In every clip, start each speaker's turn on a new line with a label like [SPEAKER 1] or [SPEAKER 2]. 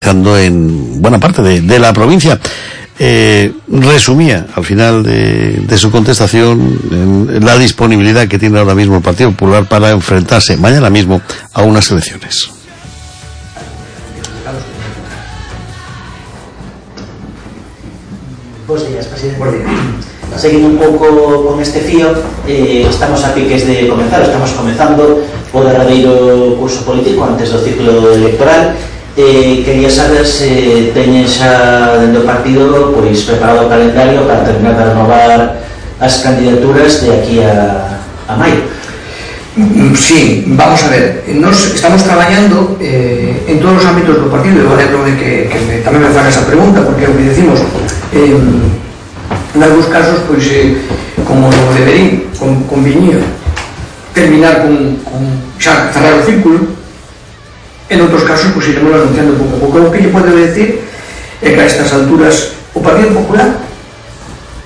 [SPEAKER 1] buscando en buena parte de la provincia. Resumía al final de su contestación en la disponibilidad que tiene ahora mismo el Partido Popular para enfrentarse mañana mismo a unas elecciones.
[SPEAKER 2] Buenos días, presidente. Buenos días. Seguindo un pouco con este fío, estamos a piques de comenzar, estamos comezando o derradeiro curso político antes do ciclo electoral. Quería saber se teñen xa dentro do partido pois preparado o calendario para terminar de renovar as candidaturas de aquí a maio.
[SPEAKER 3] Sí, vamos a ver, nos estamos traballando en todos os ámbitos do partido. Eu alegro de que tamén me fan esa pregunta, porque o que decimos en algúns casos, pois como deberín conviñía terminar con xa cerrar o círculo, en outros casos pois iremos anunciando pouco a pouco. O que lle podo decir é que a estas alturas o Partido Popular,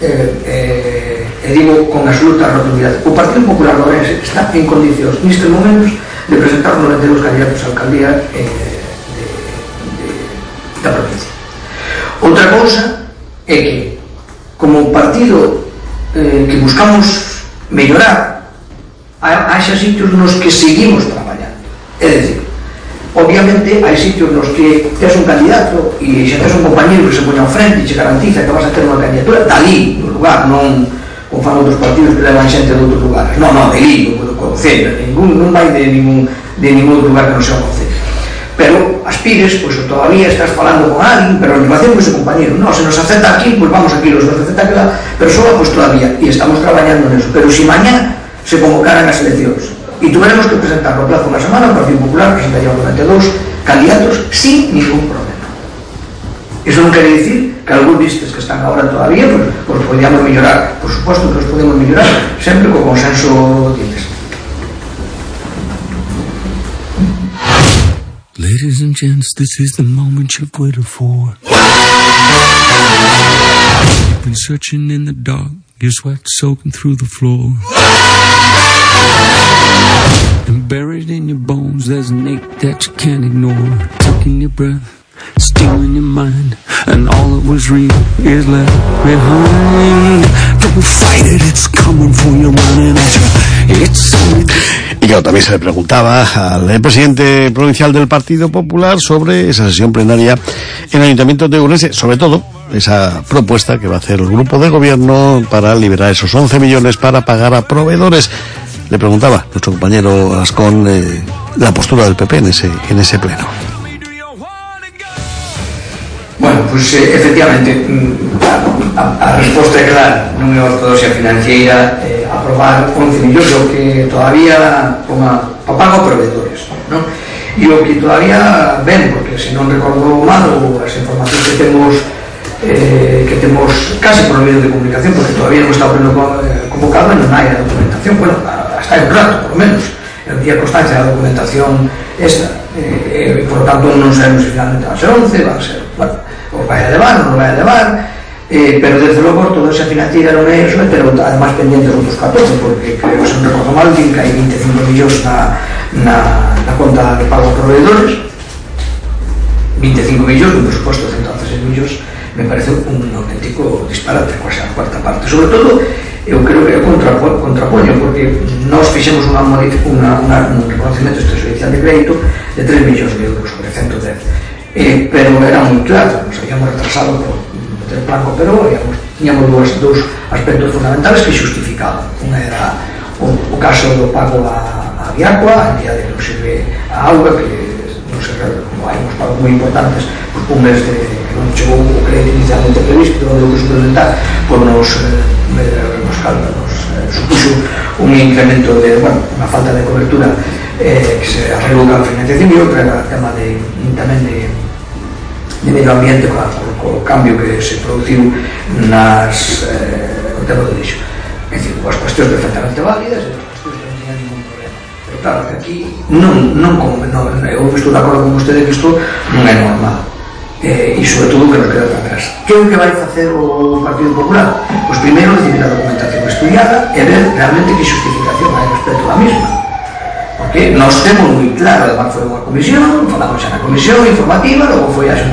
[SPEAKER 3] e digo con absoluta rotundidade, o Partido Popular de Ourense está en condicións nestes momentos de presentar 92 candidatos a alcaldía da provincia. Outra cousa é que como partido que buscamos mellorar, haxa sitios nos que seguimos traballando. É dicir, obviamente hai sitios nos que tes un candidato e xa tes un compañero que se poña ao frente e che garantiza que vas a ter unha candidatura dali, no lugar, non como fan outros partidos que levan xente de outros lugares. Non, dali, do concello, non vai de ningún lugar que non sea o concello. Pero as pires, pois todavía estás falando con alguén, pero en relación con ese compañero, non, se nos acepta aquí, pois vamos aquí, se nos acepta aquela persoa, pois todavía, e estamos traballando neso. Pero se mañá se convocaran as eleccións e tuveremos que presentar no plazo unha semana, o Partido Popular presentaría 92 candidatos sin ningún problema. Iso non quere dicir que algún vistes que están agora todavía, pois podíamos mellorar. Por suposto que nos podemos mellorar sempre co consenso diles.
[SPEAKER 4] Ladies and gents, this is the moment you've waited for. You've been searching in the dark, your sweat soaking through the floor. And buried in your bones, there's an ache that you can't ignore. Taking your breath, stealing your mind, and all that was real is left behind. Don't fight it, it's coming for you, running at you. It's only...
[SPEAKER 1] Y claro, también se le preguntaba al presidente provincial del Partido Popular sobre esa sesión plenaria en el Ayuntamiento de Ourense, sobre todo esa propuesta que va a hacer el grupo de gobierno para liberar esos 11 millones para pagar a proveedores. Le preguntaba nuestro compañero Ascón la postura del PP en ese pleno.
[SPEAKER 3] Bueno, pois efectivamente a resposta é clara, non é ortodoxia financiera aprobar 11 millóns, o que todavía para pago a proveedores, non? E o que todavía ven, porque se non recordo mal, as informacións que temos casi por medio de comunicación, porque todavía non está o pleno convocado e non hai a documentación, bueno, hasta hai un rato, por lo menos el día constancia da documentación esta, por lo tanto non sabemos se finalmente va a ser 11, va a ser, bueno, o vai a levar, non vai a levar, pero desde logo toda esa financiera non é eso, pero además pendientes outros 14, porque creo que se non recordo mal, que hai 25 millóns na conta de pago a proveedores, 25 millóns, un presuposto de 116 millóns, me parece un auténtico disparate, quase a cuarta parte. Sobre todo, eu creo que contrapoño, porque nós fixemos un reconocimiento extrajudicial de crédito de 3 millóns de euros sobre 110, pero era moi claro, nos habíamos retrasado por meter planco, pero tiñamos dous aspectos fundamentales que xustificaban. Unha era o caso do pago a Viacua, a entidade que non sirve a auga, que non se como hai uns pagos moi importantes, por un mes que non chegou o crédito inicialmente previsto, que non deu que suplementar, pois nos supuxo un incremento de, unha falta de cobertura que se arreglou a financiación, e outra era o tema tamén de medio ambiente co cambio que se produciu o tema do lixo. É dicir, as cuestións perfectamente válidas e as cuestións que non teñan ningún problema, pero claro que aquí eu estou de acordo con vostede que isto non é normal, e sobre todo que nos queda para atrás. Que é o que vai facer o Partido Popular? Pois primeiro recibir a documentación estudiada e ver realmente que justificación hai respecto da mesma, porque nós temos moi claro, además foi unha comisión, falamos xa na comisión informativa, logo foi a